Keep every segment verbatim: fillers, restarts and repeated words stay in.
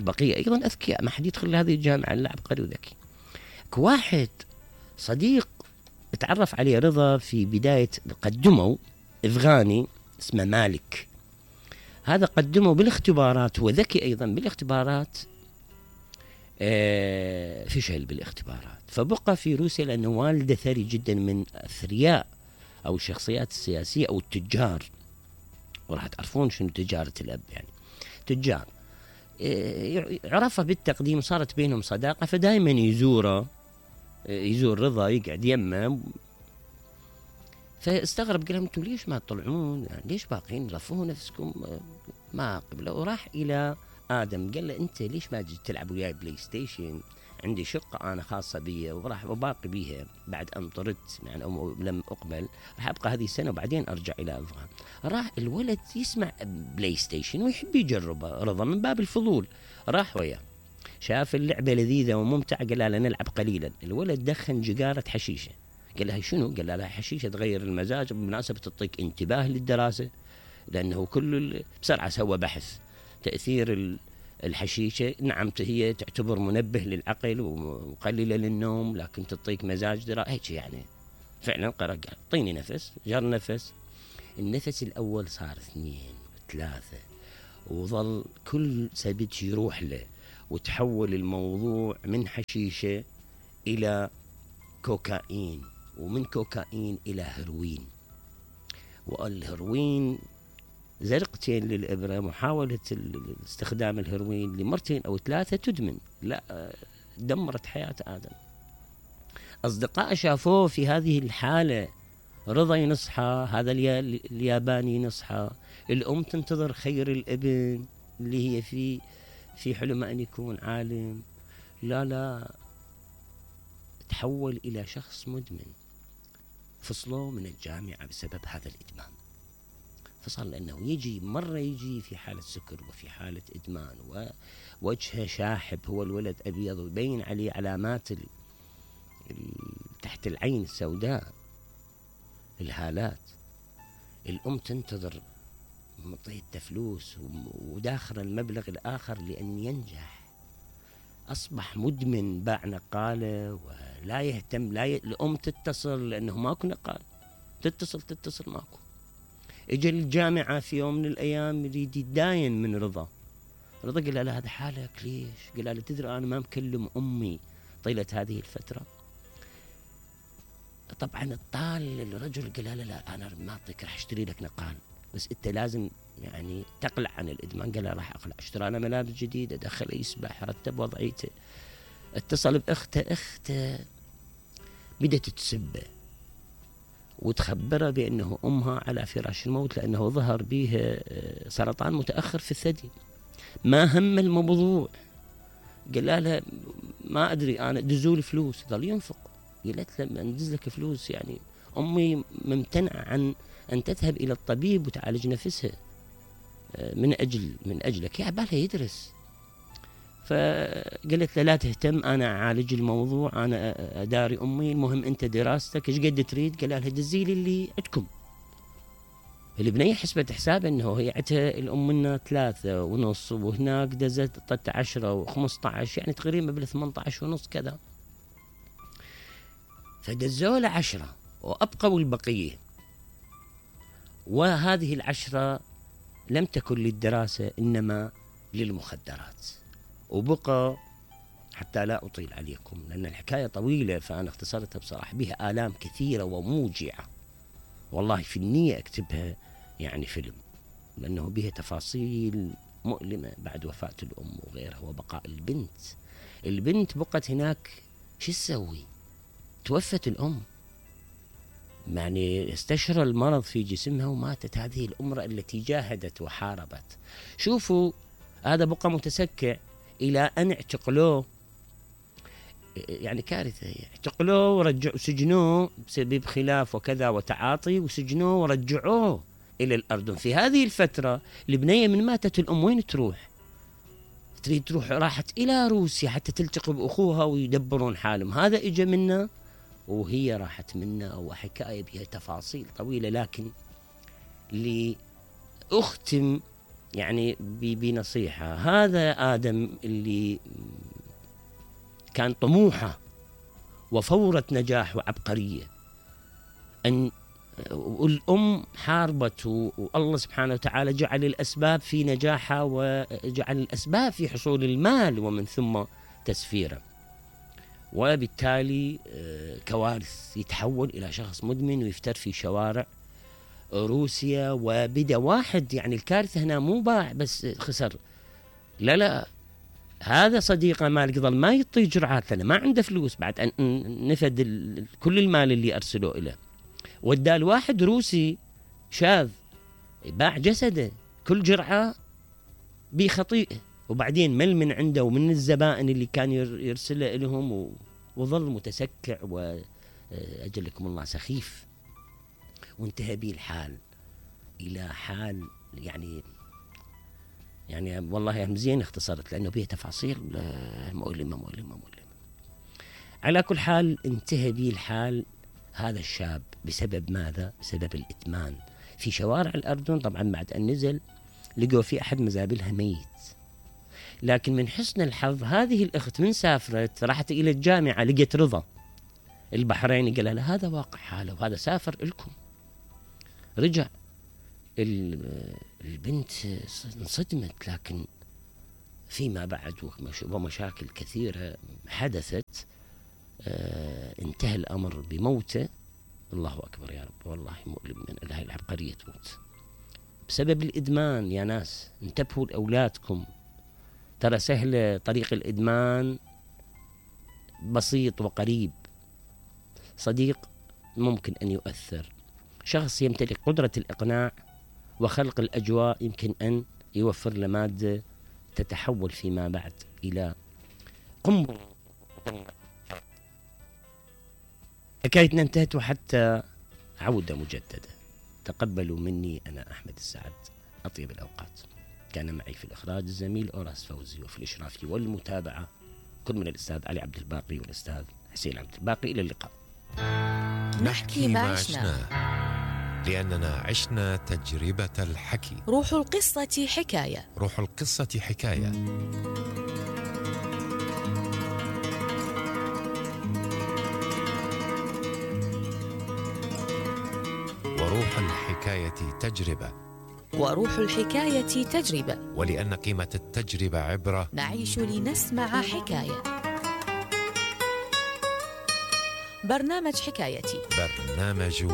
هناك بقية أيضا أذكياء، ما حد يدخل هذه الجامعة إلا عبقري وذكي. واحد صديق اتعرف عليه رضا في بداية، قدموا أفغاني اسمه مالك، هذا قدمه بالاختبارات، هو ذكي أيضا بالاختبارات، آه فشل بالاختبارات، فبقى في روسيا لأنه والده ثري جدا من أثرياء أو الشخصيات السياسية أو التجار، وراح تعرفون شنو تجارة الأب، يعني تجار، آه عرفه بالتقديم، صارت بينهم صداقة، فدائما يزوره، يزور رضا، يقعد يمه، فاستغرب، قال لهم انتم ليش ما تطلعون، يعني ليش باقين رفعوا نفسكم ما قبله. وراح الى ادم قال له انت ليش ما تجي تلعب وياي بلاي ستيشن، عندي شقه انا خاصه بي وراح اباقي بيها بعد ان طردت، يعني أو لم اقبل، راح ابقى هذه السنه وبعدين ارجع الى افغان. راح الولد يسمع بلاي ستيشن ويحب يجربه، رضا من باب الفضول راح وياه، شاف اللعبه لذيذه وممتعه، قال له نلعب قليلا. الولد دخن جقاره حشيشه، قال لها شنو؟ قال لها حشيشه تغير المزاج، بالمناسبه تعطيك انتباه للدراسه، لانه كل بسرعه سوى بحث تاثير الحشيشه، نعم هي تعتبر منبه للعقل ومقلله للنوم، لكن تعطيك مزاج دراسه هيك يعني. فعلا قرأ قال اعطيني نفس، جر نفس، النفس الاول صار اثنين ثلاثه، وظل كل سبت يروح له، وتحول الموضوع من حشيشه الى كوكايين، ومن كوكايين إلى هيروين، والهيروين زرقتين للإبرة، محاولة استخدام الهيروين لمرتين أو ثلاثة تدمن، لا دمرت حياة آدم. أصدقاء شافوه في هذه الحالة، رضا ينصحى، هذا الياباني ينصحى، الأم تنتظر خير الابن اللي هي في في حلم أن يكون عالم، لا لا تحول إلى شخص مدمن. فصلوا من الجامعة بسبب هذا الإدمان، فصل لأنه يجي مرة يجي في حالة سكر وفي حالة إدمان، ووجهه شاحب، هو الولد أبيض ويبين عليه علامات ال... ال... تحت العين السوداء، الهالات. الأم تنتظر مطيته فلوس وداخل المبلغ الآخر لأن ينجح، أصبح مدمن، باع نقالة ولا يهتم، لا ي... الأم تتصل لأنه ماكو نقال، تتصل تتصل ماكو. اجى الجامعة في يوم من الأيام يريد يتداين من رضا، رضا قال له هذا حالك ليش؟ قال له تدري أنا ما مكلم أمي طيلة هذه الفترة. طبعا الطال الرجل قال له لا أنا ما أعطيك، راح أشتري لك نقال، بس أنت لازم يعني تقلع عن الإدمان. قال له راح أقلع، اشترى له ملابس جديدة، دخل يسبح، رتب وضعيته، اتصل بأخته، أخته بدأت تسبه وتخبره بأنه أمها على فراش الموت، لأنه ظهر به سرطان متأخر في الثدي. ما هم الموضوع، قال لها ما أدري أنا دزولي فلوس، ظل ينفق. قالت له ندز لك فلوس، يعني أمي ممتنعة عن أن تذهب إلى الطبيب وتعالج نفسها من أجل من أجلك، يا بالها يدرس. فقالت له لا تهتم، أنا أعالج الموضوع، أنا أداري أمي، المهم أنت دراستك إيش قد تريد؟ قال لها دزيلي اللي عندكم. البنية حسبت حساب أنه هي عتها الأم منا ثلاثة ونص، وهناك دزت طت عشرة وخمسة عشر، يعني تقريبا بال ثمانية عشر ونص كذا، فدزوا له عشرة وأبقوا البقية. وهذه العشرة لم تكن للدراسة إنما للمخدرات. وبقى، حتى لا أطيل عليكم لأن الحكاية طويلة فأنا اختصرتها بصراحة، بها آلام كثيرة وموجعة، والله في النية أكتبها يعني فيلم، لأنه بها تفاصيل مؤلمة بعد وفاة الأم وغيرها، وبقاء البنت. البنت بقت هناك، شو تسوي؟ توفت الأم، يعني استشرى المرض في جسمها وماتت هذه الأمرأة التي جاهدت وحاربت. شوفوا هذا بقى متسكع إلى أن اعتقلوه، يعني كارثة، اعتقلوه ورجعوا سجنوه بسبب خلاف وكذا وتعاطي، وسجنوه ورجعوه إلى الأردن. في هذه الفترة البنية من ماتت الأم وين تروح؟ تريد تروح، راحت إلى روسيا حتى تلتقي بأخوها ويدبرون حالهم. هذا إجا منا وهي راحت منا، وحكاية بها تفاصيل طويلة، لكن لأختم يعني بنصيحة، هذا آدم اللي كان طموحه وفورة نجاح وعبقرية، أن والأم حاربت والله سبحانه وتعالى جعل الأسباب في نجاحها وجعل الأسباب في حصول المال ومن ثم تسفيره، وبالتالي كوارث، يتحول إلى شخص مدمن ويفتر في شوارع روسيا. وبدأ واحد، يعني الكارثة هنا مو باع بس خسر، لا لا، هذا صديقه مال قضل ما يعطي جرعات لأنه ما عنده فلوس بعد أن نفد كل المال اللي أرسلوه إليه، وادى الواحد روسي شاذ باع جسده كل جرعة بخطيئة، وبعدين مل من عنده ومن الزبائن اللي كان يرسله لهم، وظل متسكع وأجلكم الله سخيف، وانتهى به الحال إلى حال يعني يعني والله مزين اختصرت لأنه بيه تفاصيل مؤلمة مؤلمة مؤلمة. على كل حال انتهى به الحال هذا الشاب بسبب ماذا؟ بسبب الإدمان في شوارع الأردن. طبعا بعد أن نزل لقوا في أحد مزابلها ميت، لكن من حسن الحظ هذه الأخت من سافرت راحت إلى الجامعة لقيت رضا البحريني، قال لها هذا واقع حاله وهذا سافر لكم. رجع البنت انصدمت، لكن فيما بعد ومشاكل كثيرة حدثت آه انتهى الأمر بموته. الله أكبر يا رب، والله مؤلم من هاي العبقرية تموت بسبب الإدمان. يا ناس انتبهوا لأولادكم، ترى سهل طريق الإدمان، بسيط وقريب. صديق ممكن أن يؤثر، شخص يمتلك قدرة الإقناع وخلق الأجواء يمكن أن يوفر لمادة تتحول فيما بعد إلى قنبلة. حكايتنا انتهت وحتى عودة مجددة. تقبلوا مني أنا أحمد السعد أطيب الأوقات. كان معي في الإخراج الزميل أوراس فوزي، وفي الإشراف والمتابعة كل من الأستاذ علي عبد الباقي والأستاذ حسين عبد الباقي. إلى اللقاء. نحكي ما عشنا لأننا عشنا تجربة الحكي. روح القصة حكاية. روح القصة حكاية. وروح الحكاية تجربة. وروح الحكاية تجربة. ولأن قيمة التجربة عبرة، نعيش لنسمع حكاية. برنامج حكايتي. برنامج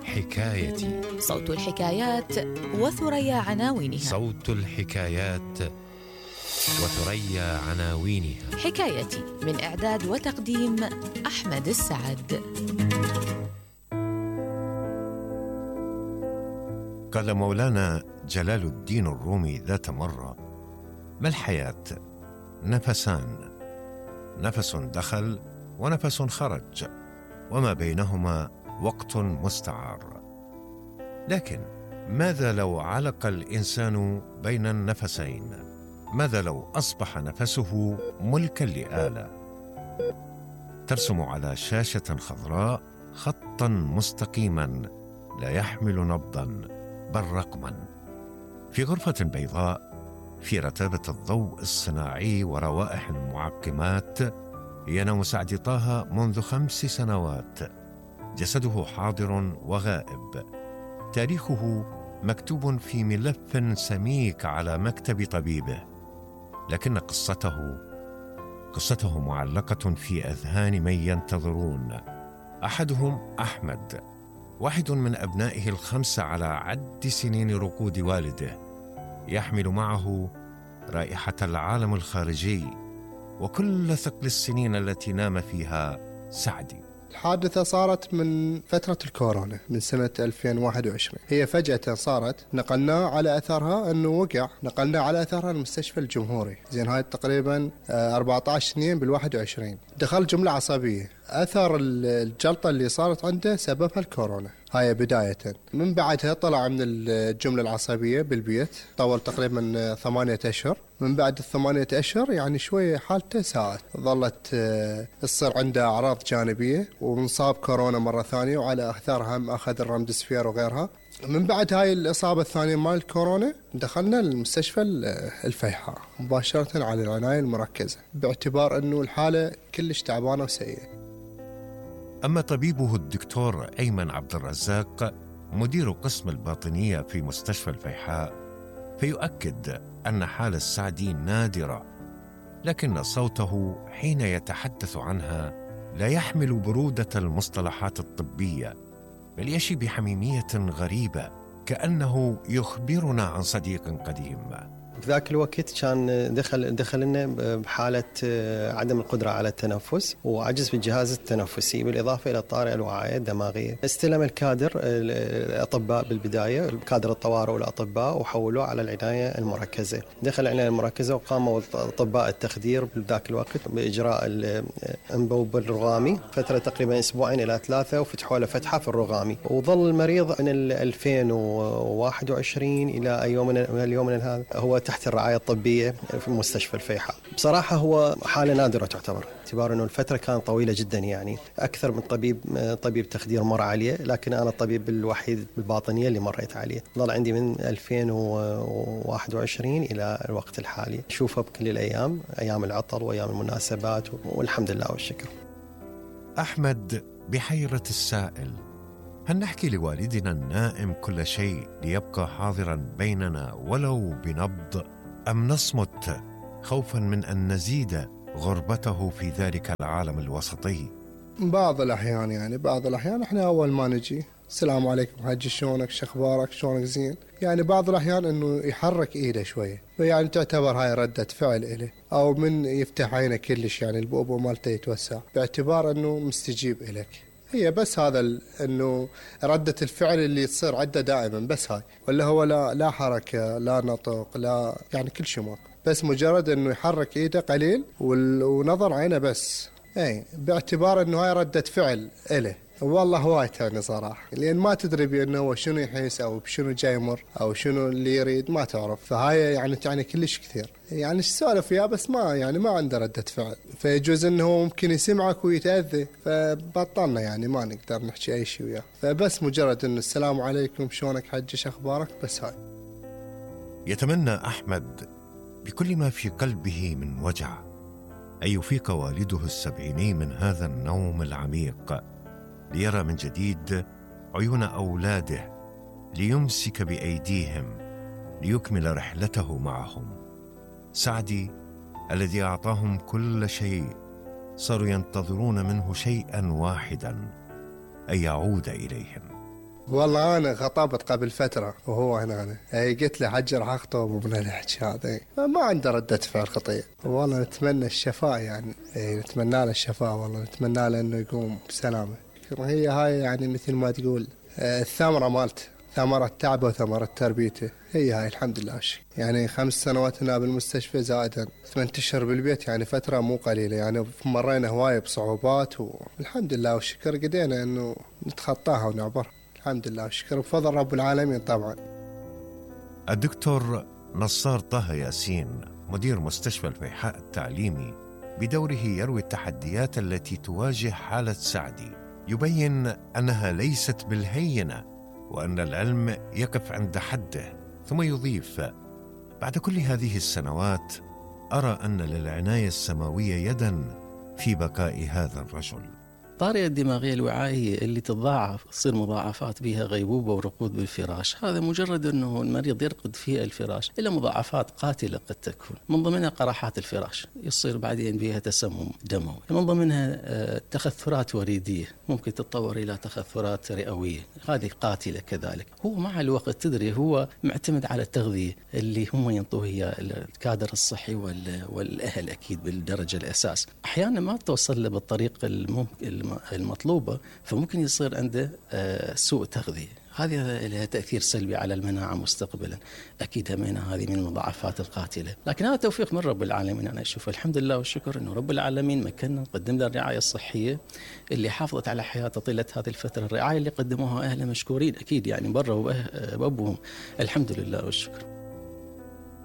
حكايتي. صوت الحكايات وثريا عناوينها. صوت الحكايات وثريا عناوينها. حكايتي من إعداد وتقديم أحمد السعد. قال مولانا جلال الدين الرومي ذات مرة: ما الحياة؟ نفسان، نفس دخل ونفس خرج، وما بينهما وقت مستعار. لكن ماذا لو علق الإنسان بين النفسين؟ ماذا لو أصبح نفسه ملكا لآلة ترسم على شاشة خضراء خطا مستقيما لا يحمل نبضا بل رقما، في غرفة بيضاء في رتابة الضوء الصناعي وروائح المعقمات ينام سعد طه منذ خمس سنوات، جسده حاضر وغائب، تاريخه مكتوب في ملف سميك على مكتب طبيبه، لكن قصته قصته معلقة في أذهان من ينتظرون. أحدهم أحمد، واحد من أبنائه الخمسة على عد سنين رقود والده، يحمل معه رائحة العالم الخارجي وكل ثقل السنين التي نام فيها سعدي. الحادثة صارت من فترة الكورونا من سنة ألفين وواحد وعشرين. هي فجأة صارت، نقلناه على أثرها أنه وقع، نقلناه على أثرها المستشفى الجمهوري. زين هاي تقريبا أربعة عشر سنين بالواحد وعشرين. دخل جملة عصبية، أثر الجلطة اللي صارت عنده سببها الكورونا. هاي بداية. من بعدها طلع من الجملة العصبية بالبيت، طول تقريبا ثمانية أشهر. من بعد الثمانية أشهر يعني شوية حالته ساءت، ظلت تصير عنده أعراض جانبية، ومنصاب كورونا مرة ثانية، وعلى أثرها هم أخذ الرمدسفير وغيرها. من بعد هاي الإصابة الثانية مال الكورونا دخلنا المستشفى الفيحاء مباشرة على العناية المركزة باعتبار أنه الحالة كلش تعبانة وسيئة. أما طبيبه الدكتور أيمن عبد الرزاق مدير قسم الباطنية في مستشفى الفيحاء فيؤكد أن حال السعدي نادرة، لكن صوته حين يتحدث عنها لا يحمل برودة المصطلحات الطبية، بل يشي بحميمية غريبة كأنه يخبرنا عن صديق قديم. في ذاك الوقت كان دخل دخلنا بحالة عدم القدرة على التنفس وعجز في الجهاز التنفسي بالإضافة إلى الطارئة الوعائية الدماغية. استلم الكادر الأطباء بالبداية، كادر الطوارئ والأطباء، وحولوه على العناية المركزة. دخل العناية المركزة وقاموا أطباء التخدير بذاك الوقت بإجراء الأنبوب الرغامي فترة تقريبا أسبوعين إلى ثلاثة، وفتحوا له فتحة في الرغامي. وظل المريض من ألفين وواحد وعشرين إلى يومنا اليوم هذا هو تحت الرعاية الطبية في مستشفى الفيحاء. بصراحة هو حالة نادرة تعتبر، باعتبار أنه الفترة كانت طويلة جدا، يعني أكثر من طبيب طبيب تخدير مر عليه، لكن أنا الطبيب الوحيد بالباطنية اللي مريت عليه. ظل عندي من ألفين وواحد وعشرين إلى الوقت الحالي، شوفه بكل الأيام، أيام العطل وأيام المناسبات، والحمد لله والشكر. أحمد بحيرة السائل: هل نحكي لوالدنا النائم كل شيء ليبقى حاضراً بيننا ولو بنبض، أم نصمت خوفاً من أن نزيد غربته في ذلك العالم الوسطي؟ بعض الأحيان يعني بعض الأحيان إحنا أول ما نجي السلام عليكم حجي، شلونك، شخبارك، شلونك، زين. يعني بعض الأحيان إنه يحرك إيده شوية، يعني تعتبر هاي ردة فعل إله، أو من يفتح عينه كلش يعني البؤبؤ مالته يتوسع باعتبار إنه مستجيب إليك. هي بس هذا انه ردة الفعل اللي تصير عنده دائما بس هاي، ولا هو لا لا حركة لا نطق لا يعني كل شيء ماكو، بس مجرد انه يحرك ايده قليل ونظر عينه بس، اي باعتبار انه هاي ردة فعل له. والله هواي تعني صراحة، لأن ما تدري بأنه هو شنو يحس أو بشنو جاي يمر أو شنو اللي يريد، ما تعرف. فهاي يعني تعني كلش كثير، يعني ايش سولف وياه بس ما يعني ما عنده ردة فعل، فيجوز انه هو ممكن يسمعك ويتأذى، فبطلنا يعني ما نقدر نحكي اي شيء وياه، فبس مجرد انه السلام عليكم، شلونك حجي، شخبارك، بس هاي. يتمنى أحمد بكل ما في قلبه من وجع أن يفيق والده السبعيني من هذا النوم العميق، ليرى من جديد عيون أولاده، ليمسك بأيديهم، ليكمل رحلته معهم. سعدي الذي أعطاهم كل شيء صاروا ينتظرون منه شيئا واحدا، أن يعود إليهم. والله أنا خطبت قبل فترة وهو هنا، أنا أي قلت له حجي راح أخطب ومن الحكي هذا، ما عنده ردة فعل خطير. والله نتمنى الشفاء، يعني نتمنى له الشفاء، والله نتمنى له إنه يقوم بسلامة. هي هاي يعني مثل ما تقول الثمرة مالته، ثمرة تعبه وثمرة تربيته، هي هاي الحمد لله. يعني خمس سنوات هنا بالمستشفى زائدا ثمان اشهر بالبيت، يعني فترة مو قليلة، يعني مرينا هواية بصعوبات، والحمد لله والشكر قدينا انه نتخطاها ونعبرها، الحمد لله والشكر بفضل رب العالمين. طبعا الدكتور نصار طه ياسين مدير مستشفى الفيحاء التعليمي بدوره يروي التحديات التي تواجه حالة سعدي، يبين أنها ليست بالهينة وأن العلم يقف عند حده، ثم يضيف: بعد كل هذه السنوات أرى أن للعناية السماوية يداً في بقاء هذا الرجل. الطارئة الدماغية الوعائية اللي تتضاعف، تصير مضاعفات بها غيبوبة ورقود بالفراش، هذا مجرد أنه المريض يرقد في الفراش إلى مضاعفات قاتلة قد تكون، من ضمنها قراحات الفراش، يصير بعدين بها تسمم دموي، من ضمنها تخثرات وريدية ممكن تتطور إلى تخثرات رئوية، هذه قاتلة كذلك. هو مع الوقت تدري هو معتمد على التغذية اللي هم ينطوه هي الكادر الصحي والأهل أكيد بالدرجة الأساس، أحيانا ما توصل له بالطريق الممكن المطلوبة، فممكن يصير عنده سوء تغذية، هذه لها تأثير سلبي على المناعة مستقبلا، أكيد همينة هذه من المضاعفات القاتلة. لكن هذا توفيق من رب العالمين، أنا أشوف الحمد لله والشكر أنه رب العالمين مكننا نقدم له الرعاية الصحية اللي حافظت على حياته طيلة هذه الفترة، الرعاية اللي قدموها أهله مشكورين أكيد، يعني برا وبأبوهم، الحمد لله والشكر.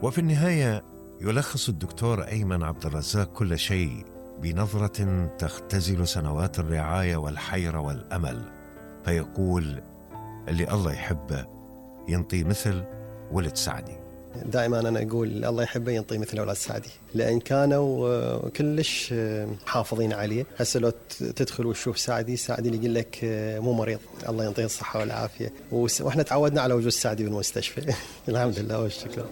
وفي النهاية يلخص الدكتور أيمن عبد الرزاق كل شيء بنظرة تختزل سنوات الرعاية والحيرة والأمل، فيقول: اللي الله يحبه ينطي مثل ولد سعدي. دائما أنا أقول الله يحبه ينطي مثل أولاد سعدي، لأن كانوا كلش محافظين عليه. هسه لو تدخل وتشوف سعدي سعدي اللي يقول لك مو مريض، الله ينطيه الصحة والعافية. وإحنا تعودنا على وجود سعدي بالمستشفى. الحمد لله والشكر.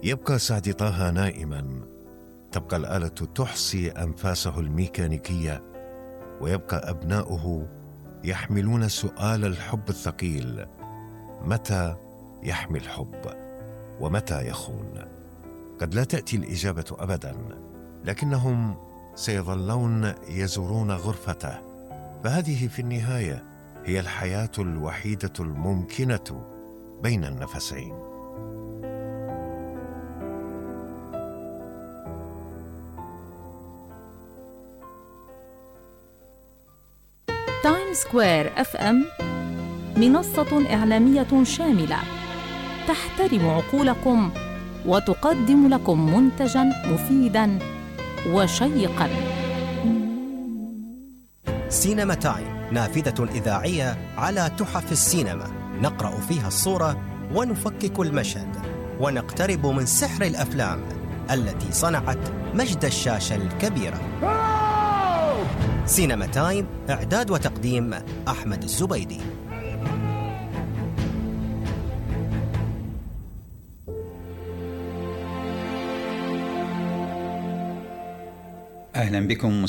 يبقى سعدي طه نائما، تبقى الآلة تحصي أنفاسه الميكانيكية، ويبقى أبناؤه يحملون سؤال الحب الثقيل: متى يحمي الحب ومتى يخون؟ قد لا تأتي الإجابة أبدا، لكنهم سيظلون يزورون غرفته، فهذه في النهاية هي الحياة الوحيدة الممكنة بين النفسين. تايم سكوير اف ام منصة إعلامية شاملة تحترم عقولكم وتقدم لكم منتجاً مفيداً وشيقاً. سينما تايم نافذة إذاعية على تحف السينما، نقرأ فيها الصورة ونفكك المشهد ونقترب من سحر الأفلام التي صنعت مجد الشاشة الكبيرة. سينما تايم، إعداد وتقديم أحمد الزبيدي. أهلا بكم مستمعين